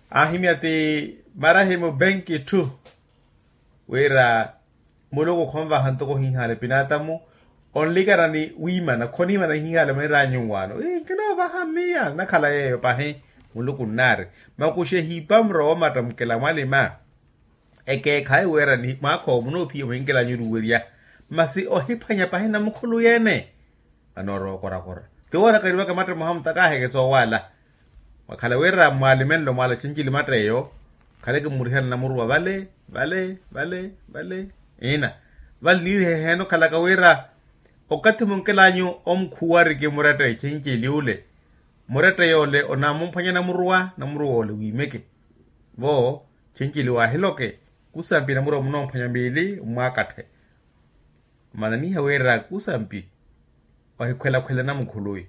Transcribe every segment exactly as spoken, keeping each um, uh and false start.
Ahimya ti marahimu benki ttu wira muluku khonvaha ntoko hihala epinaatamu onlikana ni wiimana khoniimana hihala mwiranyu nwaano. Nkinovaha mmiya nnakhala yeeyo pahi muluku nnaari makuxe hiipa muro woomatta mukela mwalima. Ekeekhayi wira ni mwaakha owo munoophiya mwinkela nyuruwerya masi ohiphwanya pahi namukhulu yeene. Anoorowa okorakora ti woona kariwaka matta muhamuta kaahekesa owaala. Mwakhala wira mwalimenlo mwaala cincili matta eyo khale kimurihana namuruwa vale vale vale vale. Ina vale niiriheheene okhalaka wira okathi munkelanyu omukhuwariki murette cincili ule murette yoole onamumphwanya namuruwa namuruwa ole wiimeke. Vo cincili waahiloke kusampi namurowa munomphwanya miili mmwaakatthe. Omananiha wira kusampi ohikhwelakhwela namukhuluwi.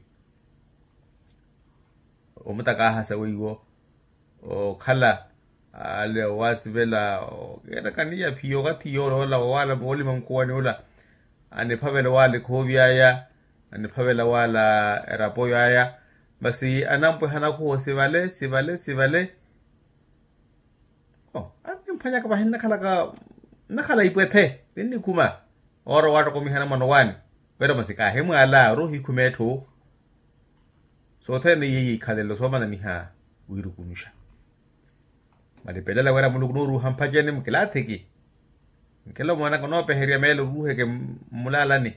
Omutaka aahasa weiwo okhala ale owasivela okeetakaniya phiyo okathi yoola ola owala wolima mukhuwani ula. Aniphavela owala ekhoovi aya aniphavela owala erapo yaya. Masi anampweha nakhuwo sivale sivale sivale. Annimphwanyaka vahi nnakhalaka nnakhala ipwethe ninnikhuma oora owaattokomihana mwana owaani. Wira masi kaahimwaala ori ohikhuma etthu. Sothene iye yiikhalelo soomananiha wiirukunuxa. Malipelela wira muluku nooruuha mpaceni mukilaathiki. Nkelo mwanaka onoopeherya meelo oruuheke mmulalani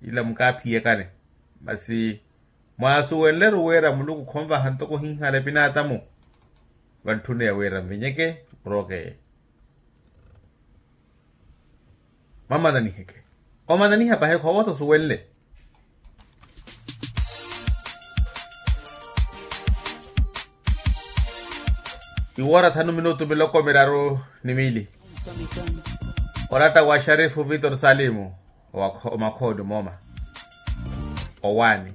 ila mukaaphiyakani. Masi mwaasuwenleru wira muluku khonvaha ntoko hihala epinaatamu. Vantthuniya wira mvinyeke murokeye. Mamananiheke omananiha pahi khoowotha osuwenle. Iwoora thanu minutu miloko miraru ni miili. Oratta wa sharifu vitor salimu omakhooni mooma. Owaani